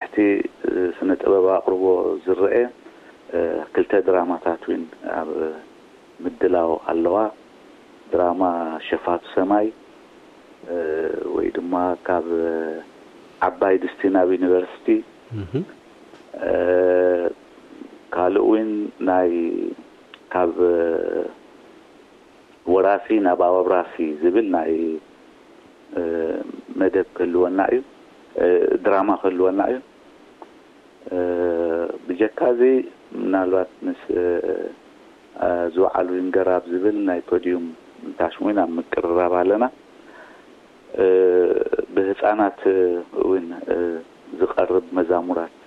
እቲ ስነ ጥበብ ኣቕርቦ ዝረአ ክልተ ድራማታት እውን ኣብ ምድላው ኣለዋ። ድራማ ሸፋቱ ሰማይ ወይ ድማ ካብ ዓባይ ድስቲ ናብ ዩኒቨርሲቲ፣ ካልእ እውን ናይ ካብ ወራሲ ናብ ኣውራሲ ዝብል ናይ መደብ ክህልወና እዩ፣ ድራማ ክህልወና እዩ። ብጀካ እዚ ምናልባት ምስ ዝወዓል ዊንገር ኣብ ዝብል ናይ ፖዲዩም ታሽሙን ኣብ ምቅርራብ ኣለና። ብህፃናት እውን ዝቐርብ መዛሙራት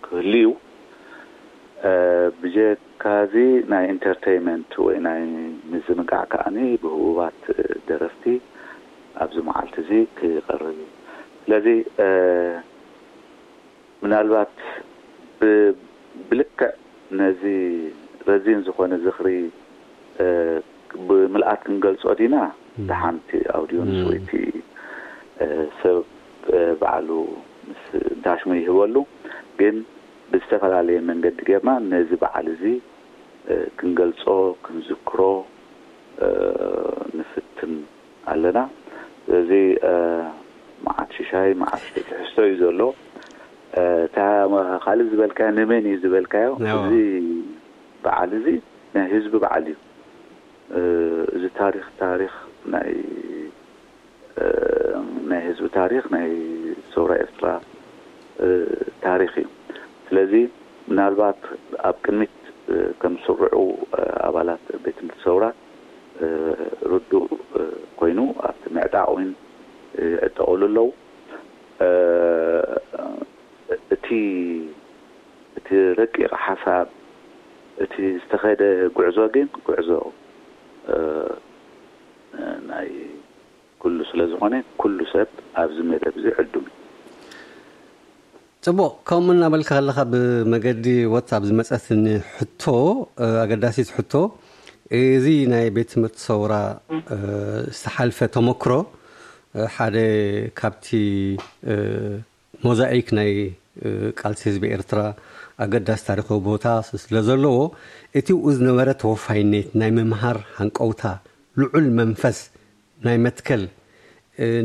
ክህሉ እዩ። ብጀካዚ ናይ ኢንተርቴይመንት ወይ ናይ ምዝንጋዕ ከዓኒ ብህቡባት ደረፍቲ ኣብዚ መዓልቲ እዚ ክቐርብ እዩ። ስለዚ ምናልባት ብልክዕ ነዚ ረዚን ዝኾነ ዝኽሪ ብምልኣት ክንገልጾ ዲና? ደሓንቲ ኣውድዮንስ ወይቲ ሰብ ባዕሉ ምስ ዳሽሙ ይህበሉ። ግን ብዝተፈላለየ መንገዲ ጌርና ነዚ በዓል እዚ ክንገልጾ፣ ክንዝክሮ ንፍትን ኣለና። ስለዚ መዓት ሽሻይ መዓት ትሕዝቶ እዩ ዘሎ። እታ ካልእ ዝበልካዮ ንመን እዩ ዝበልካዮ? እዚ በዓል እዚ ናይ ህዝቢ በዓል እዩ። እዚ ታሪኽ ታሪኽ ናይ ናይ ህዝቢ ታሪኽ ናይ ሰውራ ኤርትራ ታሪኽ እዩ። ስለዚ ምናልባት ኣብ ቅድሚት ከም ስሩዑ ኣባላት ቤት ትምህርቲ ሰውራ ርዱእ ኮይኑ ኣብቲ ምዕጣቕ እውን ይዕጠቐሉ ኣለዉ። እቲ እቲ ረቂቕ ሓሳብ እቲ ዝተኸደ ጉዕዞ ግን ጉዕዞ ናይ ኩሉ ስለ ዝኾነ ኩሉ ሰብ ኣብዚ መደብ እዚ ዕዱም እዩ። ጽቡቕ። ከምኡ እናበልካ ከለኻ ብመገዲ ዋትሳፕ ዝመጸትኒ ሕቶ፣ ኣገዳሲት ሕቶ፣ እዚ ናይ ቤት ትምህርቲ ሰውራ ዝተሓልፈ ተመክሮ ሓደ ካብቲ ሞዛኢክ ናይ ቃልሲ ህዝቢ ኤርትራ ኣገዳሲ ታሪኻዊ ቦታ ስለ ዘለዎ፣ እቲ ብኡ ዝነበረ ተወፋይነት፣ ናይ ምምሃር ሃንቀውታ፣ ልዑል መንፈስ ናይ መትከል፣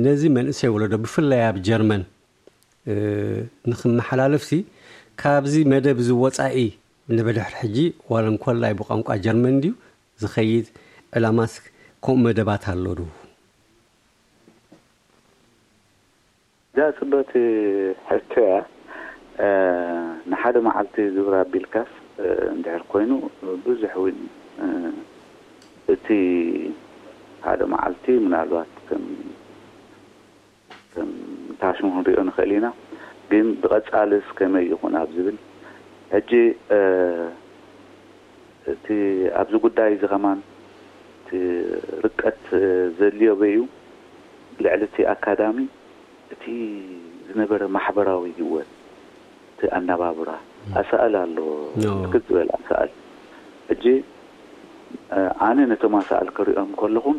ነዚ መንእሰይ ወለዶ ብፍላይ ኣብ ጀርመን ንኽመሓላለፍሲ ካብዚ መደብ እዚ ወጻኢ ንብድሕሪ ሕጂ ዋላ እንኮላይ ብቋንቋ ጀርመን ድዩ ዝኸይድ ዕላማስ ከምኡ መደባት ኣሎ ዶ? እዛ ጽበት ሕቶ እያ። ንሓደ መዓልቲ ግብር ኣቢልካስ እንድሕር ኮይኑ ብዙሕ እውን እቲ ሓደ መዓልቲ ምናልባት ከም ከም ታሽሙ ክንሪኦ ንኽእል ኢና። ግን ብቐጻልስ ከመይ ይኹን ኣብ ዝብል ሕጂ እቲ ኣብዚ ጉዳይ እዚ ከማን እቲ ርቀት ዘድልዮ በዩ ልዕሊ እቲ ኣካዳሚ እቲ ዝነበረ ማሕበራዊ ህይወት እቲ ኣነባብራ ኣሳእል ኣሎ ክትበል ኣሳእል ሕጂ ኣነ ነቶም ኣሳእል ክሪኦም ከለኹም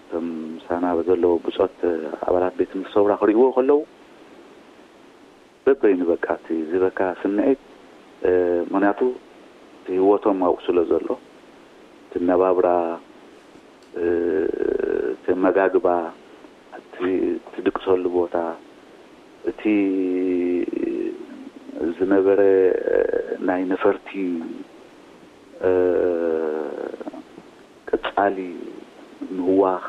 እቶም ምሳና ዘለዉ ብጾት ኣባላት ቤት ትምህርቲ ሰውራ ክርእይዎ ከለዉ በበይኑ በቃ እቲ ዝበካ ስምዒት ምክንያቱ እቲ ህይወቶም ኣብኡ ስለ ዘሎ እቲ ነባብራ እቲ ኣመጋግባ እቲ ትድቅሰሉ ቦታ እቲ ዝነበረ ናይ ነፈርቲ ቀጻሊ ምህዋኽ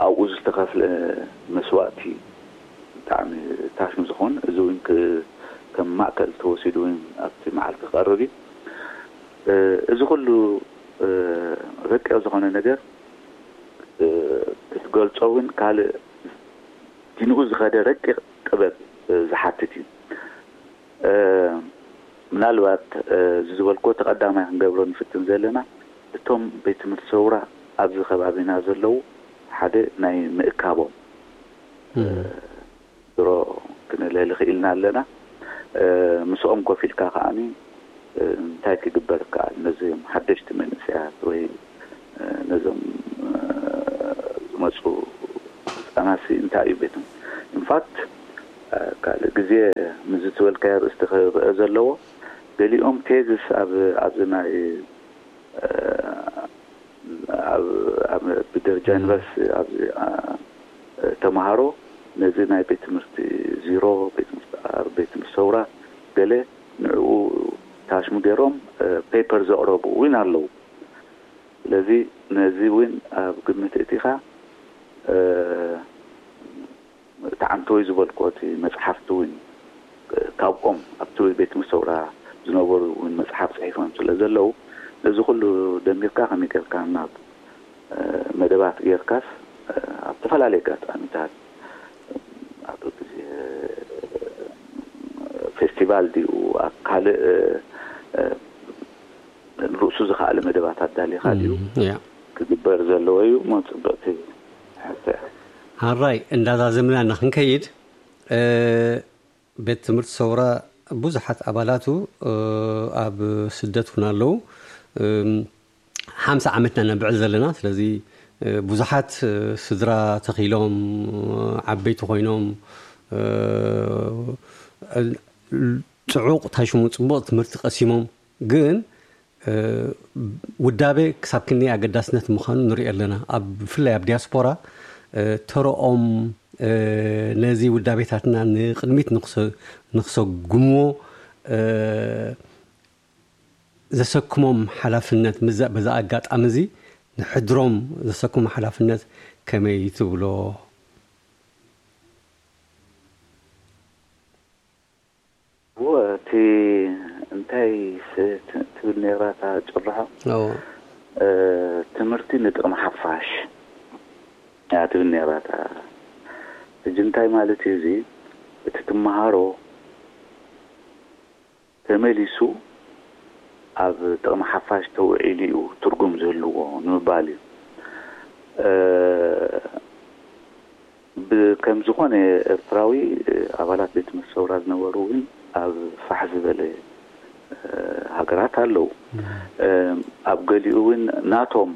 ኣብኡ ዝተኸፍለ መስዋእቲ ብጣዕሚ ታሽም ዝኾን እዚ እውን ከም ማእከል ተወሲዱ እውን ኣብቲ መዓልቲ ክቐርብ እዩ። እዚ ኩሉ ረቂቕ ዝኾነ ነገር ክትገልጾ እውን ካልእ ዲንኡ ዝኸደ ረቂቕ ጥበብ ዝሓትት እዩ። ምናልባት እዚ ዝበልክዎ ተቐዳማይ ክንገብሮ ንፍትን ዘለና እቶም ቤት ትምህርቲ ሰውራ ኣብዚ ከባቢና ዘለዉ ሓደ ናይ ምእካቦም ድሮ ክንልህሊ ክኢልና ኣለና። ምስኦም ኮፍ ኢልካ ከዓኒ እንታይ ክግበር ይከኣል ነዚም ሓደሽቲ መንእሰያት ወይ ነዞም ዝመፁ ህፃናት እንታይ እዩ ቤቶም ኢንፋክት ካልእ ግዜ ምስዚ ዝበልካዮ ኣርእስቲ ክረአ ዘለዎ፣ ገሊኦም ቴዝስ ኣብ ኣብዚ ናይ ኣብ ኣብ ብደረጃ ዩኒቨርሲቲ ኣብዚ ተምሃሮ ነዚ ናይ ቤት ትምህርቲ ዚሮ፣ ቤት ትምህርቲ ኣር፣ ቤት ትምህርቲ ሰውራ ገለ ንዕኡ ታሽሙ ገይሮም ፔፐር ዘቕረቡ እውን ኣለዉ። ስለዚ ነዚ እውን ኣብ ግምት እቲኻ እቲ ዓንተወይ ዝበልኮ እቲ መፅሓፍቲ እውን ካብኦም ኣብቲ ቤት ትምህርቲ ሰውራ ዝነበሩ እውን መፅሓፍ ፅሒፎም ስለ ዘለዉ ነዚ ኩሉ ደሚርካ ከመይ ጌርካ ናብ መደባት ጌርካስ ኣብ ዝተፈላለዩ ኣጋጣሚታት ኣብ ግዜ ፌስቲቫል ድዩ ኣብ ካልእ ርእሱ ዝኸኣለ መደባት ኣዳሊኻ ድዩ ክግበር ዘለዎ እዩ እሞ ፅብቕቲ ሕቶ እያ። ሓራይ እንዳዛዘምና ንክንከይድ ቤት ትምህርቲ ሰውራ ብዙሓት ኣባላቱ ኣብ ስደት እውን ኣለዉ። ሓምሳ ዓመትና ነብዕል ዘለና ስለዚ ብዙሓት ስድራ ተኺሎም ዓበይቲ ኮይኖም ፅዑቕ ታሽሙ ፅቡቕ ትምህርቲ ቀሲሞም ግን ውዳቤ ክሳብ ክንደይ ኣገዳስነት ምዃኑ ንሪኦ ኣለና። ኣብ ብፍላይ ኣብ ዲያስፖራ ተረኦም ነዚ ውዳቤታትና ንቕድሚት ንክሰጉምዎ ዘሰክሞም ሓላፍነት ምዛ በዛ ኣጋጣሚ እዚ ንሕድሮም ዘሰክሞ ሓላፍነት ከመይ ትብሎ? እዎ እቲ እንታይ ትብል ነይራ እታ ጭርሖ ትምህርቲ ንጥቕሚ ሓፋሽ እያ ትብል ነይራ እታ። ሕጂ እንታይ ማለት እዩ እዚ? እቲ ትመሃሮ ተመሊሱ ኣብ ጥቕሚ ሓፋሽ ተውዒሉ እዩ ትርጉም ዝህልዎ ንምባል እዩ። ከም ዝኾነ ኤርትራዊ ኣባላት ቤት ትምህርቲ ሰውራ ዝነበሩ እውን ኣብ ፋሕ ዝበለ ሃገራት ኣለዉ። ኣብ ገሊኡ እውን ናቶም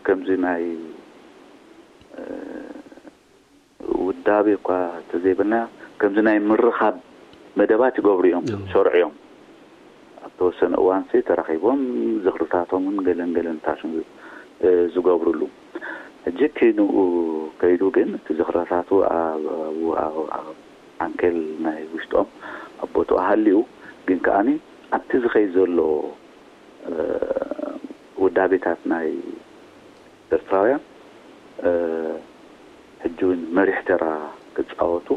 ከምዚ ናይ ውዳቤ እኳ ተዘይበልና ከምዚ ናይ ምርኻብ መደባት ይገብሩ እዮም ሰርዑ እዮም ኣብ ተወሰነ እዋንሲ ተራኺቦም ዝኽርታቶምን ገለን ገለን ታሽም ዝገብሩሉ ሕጂ እቲ ንኡ ከይዱ ግን እቲ ዝኽርታቱ ኣብ ዓንኬል ናይ ውሽጦም ኣብ ቦትኡ ሃልዩ ግን ከኣኒ ኣብቲ ዝኸይ ዘሎ ውዳቤታት ናይ ኤርትራውያን ሕጂ እውን መሪሕ ተራ ክፃወቱ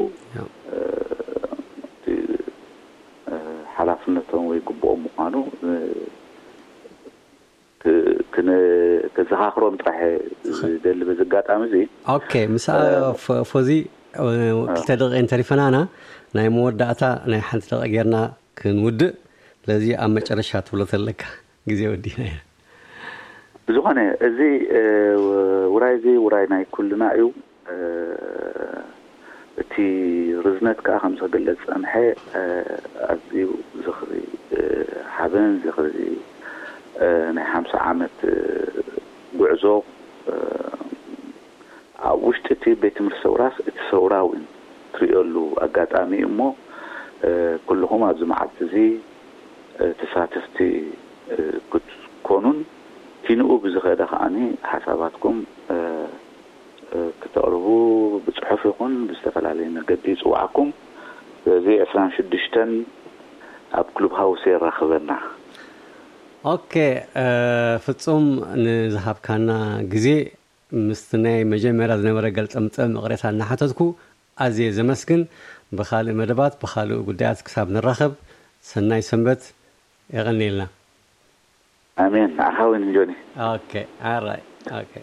ሓላፍነቶም ወይ ግብኦም ምኳኑ ክዘኻኽሮም ጥራሕ ዝደሊ በዚ ኣጋጣሚ እዚ። ኦኬ፣ ምስ ፎዚ ክልተ ደቂቀ እንተሪፈናና ናይ መወዳእታ ናይ ሓንቲ ደቂ ጌርና ክንውድእ። ስለዚ ኣብ መጨረሻ ትብሎ ተለካ ግዜ ወዲና ኢና። ብዝኾነ እዚ ውራይ እዚ ውራይ ናይ ኩልና እዩ። እቲ ርዝነት ከዓ ከምዚ ክግለፅ ፀንሐ ኣዝዩ ዝኽሪ ሓበን ዝኽሪ ናይ ሓምሳ ዓመት ጉዕዞ ኣብ ውሽጢ እቲ ቤት ትምህርቲ ሰውራስ እቲ ሰውራ እውን ትሪኦሉ ኣጋጣሚ እዩ እሞ ኩልኹም ኣብዚ መዓልቲ እዚ ተሳተፍቲ ክትኮኑን ኪንኡ ብዝኸደ ከዓኒ ሓሳባትኩም ክተቕርቡ ብፅሑፍ ይኹን ብዝተፈላለየ መገዲ ይፅዋዓኩም። ስለዚ ዕስራን ሽዱሽተን ኣብ ክሉብ ሃውስ የራኽበና። ኦኬ፣ ፍፁም ንዝሃብካና ግዜ ምስቲ ናይ መጀመርያ ዝነበረ ገልፀምፀም እቕሬታ እናሓተትኩ ኣዝየ ዘመስግን። ብኻልእ መደባት ብኻልእ ጉዳያት ክሳብ ንራኸብ ሰናይ ሰንበት። የቐንየልና። ኣሜን። ንዓኻ እውን ጆኒ። ኦኬ፣ ኣራይ። ኦኬ።